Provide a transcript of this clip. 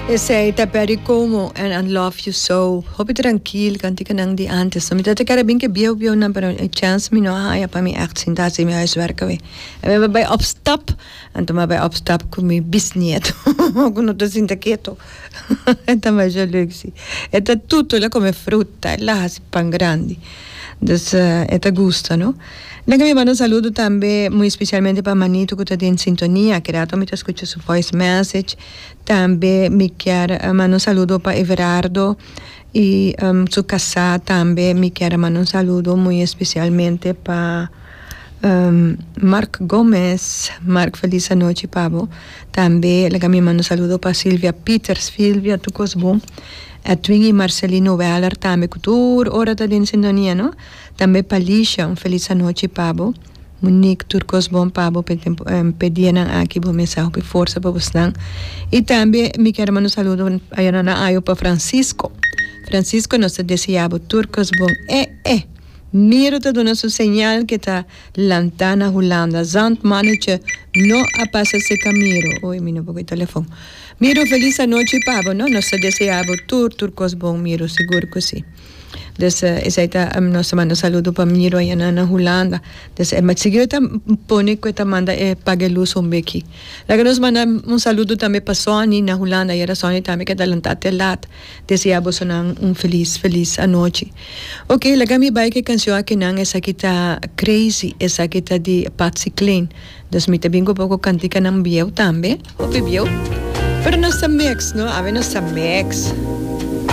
Esey ta Perry Como en I Love You So. Hopi trankil kantikanan di antes. Mi ta kere bin ke bieu bieu nan pero e chance mi no a haya pa mi echt sinta hasi mi huiswerk awe. Mi a bai op stap, anto mi a bai op stap ku mi bisnieto ku no ta sinta keto. E ta masha leuk si. E ta tutu, el a kome fruta, el a hasi pan grandi. Dus e ta gusta no. Laga mi manda un saludo tambe muy especialmente pa Manito ku ta den sintonia. Ki rato mi ta skucha su voice message. Tambe mi kier manda un saludo pa Everardo y su kasá tambe mi kier a manda un saludo muy especialmente pa Mark Gomez. Mark feliz anochi pa bo. Tambe laga mi manda un saludo pa Silvia Pieters. Silvia tur kos bon. Edwin y Marcelino Weller tambe cu tur ora ta den sintonia no. Tambe pa Lisha un feliz anochi pa bo. Monique tur cos bon pa bo p'e tempo p'e dianan aki bo mester hopi forsa pa bosnan. Y tambe mi kier manda un saludo ayana na ayo pa Francisco. Francisco nos ta desea bo tur cos bon. E e! Miro ta duna su señal ke ta lanta na Hulanda. Zandmannetje no a pasa seca Miro. Oy mi no por cu e telefon. Miro feliz anochi pa bo no. Nos ta desea bo tur tur cos bon Miro sigur cu si. Dus esey ta nos ta manda saludo pa Miro aya na na Hulanda. Dus e sigui e ta pone cu e ta manda e paga e luz un beki. Laga nos manda un saludo tambe pa Sonny na Hulanda. Ayera Sonny tambe keda lanta te lat. Desea bosonan un feliz feliz anochi. Ok laga mi bai ku e kanshon akinan esaki ta Crazy esaki ta di Patsy Cline. Dus mi ta bin ku poko kantikanan bieu tambe, hopi bieu. Pero nos ta mix no, awe nos ta mix.